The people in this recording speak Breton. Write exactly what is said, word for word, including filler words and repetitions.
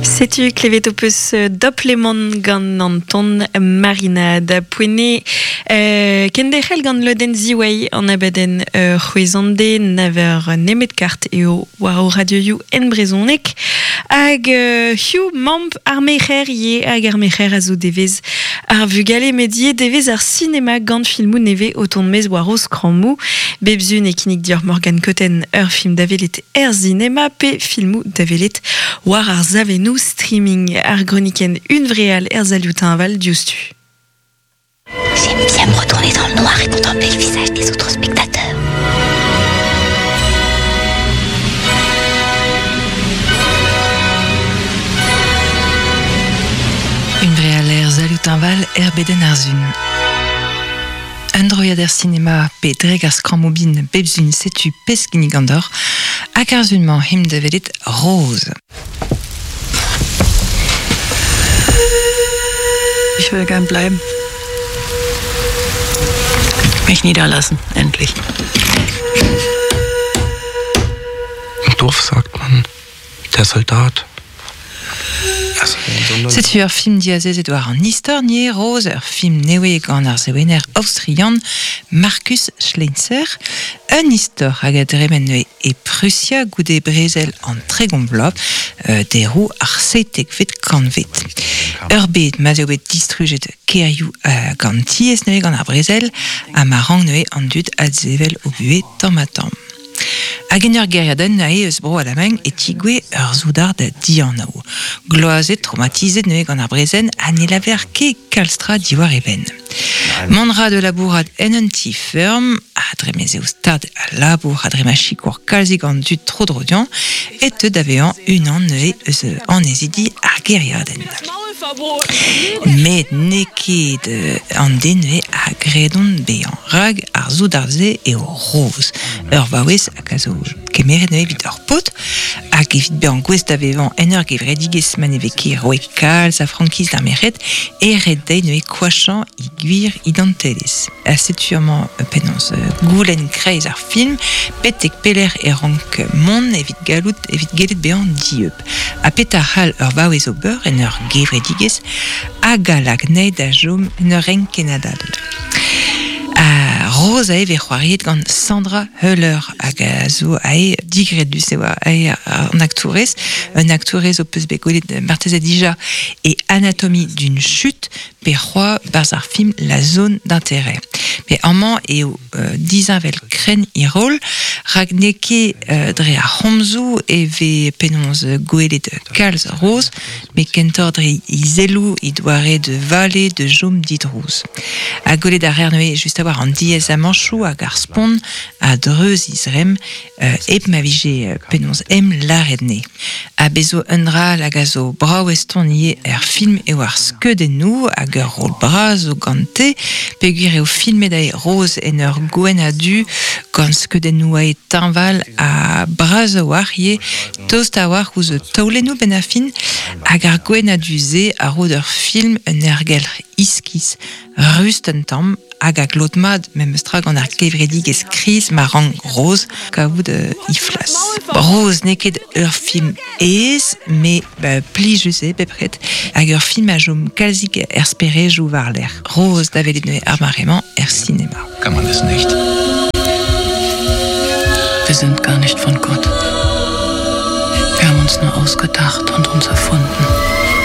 Setu klevet o peus doplemon gant an ton marinad poene euh, kenderc'hel gant loden ziwei an abadenn euh, c'hwezande naver nemet kart eo war o radioioù en brezonek hag euh, hiu mamp ar mec'her ye hag ar mec'her a zo devez ar vugale medie devez ar sinema gant filmou neve o ton mez war o skrammou bebzun e kinnig dior Morgan Koten ur film davelet er zinema pe filmou davelet war ar zavenou streaming ar groniken unvreal er zalioutin diouzhtu. J'aime bien me retourner dans le noir et contempler le visage des autres spectateurs. Unvreal er zalioutin val er beden ar zun. Un droiad er cinema pe dreg ar skrammobin bebzun setu peskinnig andor hag ar zun-mañ him da velet roz. Ich will gern bleiben. Mich niederlassen, endlich. Im Dorf sagt man, der Soldat. Setu ur film diazezet war an istor nie roz, ur film newe gant ar sewener austrian Markus Schleinzer, un istor hag a dremen neue e Prussia goude brezel an tregont vloaz, euh, derou ar seitekvet kantvet. Ur bet ma'z eo bet distrujet kerioù euh, gant tiez neue gant ar brezel, ha ma rang neue an dud adzevel o buhe tamm ha tamm. Hag en ur geriadenn nae eus bro Alamagn e tigwe ur zoudard dianav. Gloazet, traumatizet neue gant ar brezen ha ne laver ket kalstra diwar e benn. Mont ra de labourad en un ti ferm, a dre mez eo stad a labour a dre ma chikour kalzik an dud tro drodian, e te davean unan neue eus an ezidi ar geriadenn. Met n'eo ket an den neue a gredon bezañ. Rag ar zoudard-se eo roz. Ur vaouez hag a zo kemeret neue evit ur paotr, hag evit bezañ gouest da vevañ en ur gevredigezh ma ne vez ket roet kalz a frankiz d'ar merc'hed, e ret dezhi neue koachañ he gwir identelezh. Ha setu amañ penaos goulenn kreiz ar film, betek pelec'h e rank mont evit gallout evit gellet bezañ dieub. Ha petra c'hall ur vaouez ober en ur gevredigezh hag a lak anezhi da chom en ur renk kenadal. A Roz a eo c'hoariet gant Sandra Hüller hag a zo ae digredus eo ae an aktourez. Un aktourez o peus bet gwelet marteze dija e Anatomie d'une chute pe c'hoa barzh ar film La zone d'intérêt. Met amañ eo euh, dizinvel krenn he rol, rak n'eo ket euh, dre ar c'homzoù e vez penaos gwelet kalz roz, met kentoc'h dre he zelloù he doare de vale de jom didrouz. Ha gwelet ar neuze just a war an diez amanchoù hag ar spont a dreuz izrem euh, hep ma vije penaos em lâret ne. Ha bezo un dra hag a zo brav eston ivez er film eo ar skeudennoù hag ur rol bras zo gante, peogwir eo filmet ae roz en ur gwenn a du gant skeudennoù ae teñval ha bras a-walc'h ivez, tost a-walc'h ouzh taolennoù benn ar fin, hag ar gwenn a du-se a ro d'ur film un aergelc'h iskis, rust un tamm, hag a glot mat memes tra gant ar gevredigezh kriz ma rank roz kavout euh, he flas. Roz n'eo ket ur film aes, met ba, plijus eo bepred, hag ur film a chom kalzik er sperejoù war-lerc'h. Roz da welet neuze ar mare-mañ er sinema. Kann man es nicht. Wir sind gar nicht von Gott. Wir haben uns nur ausgedacht und uns erfunden.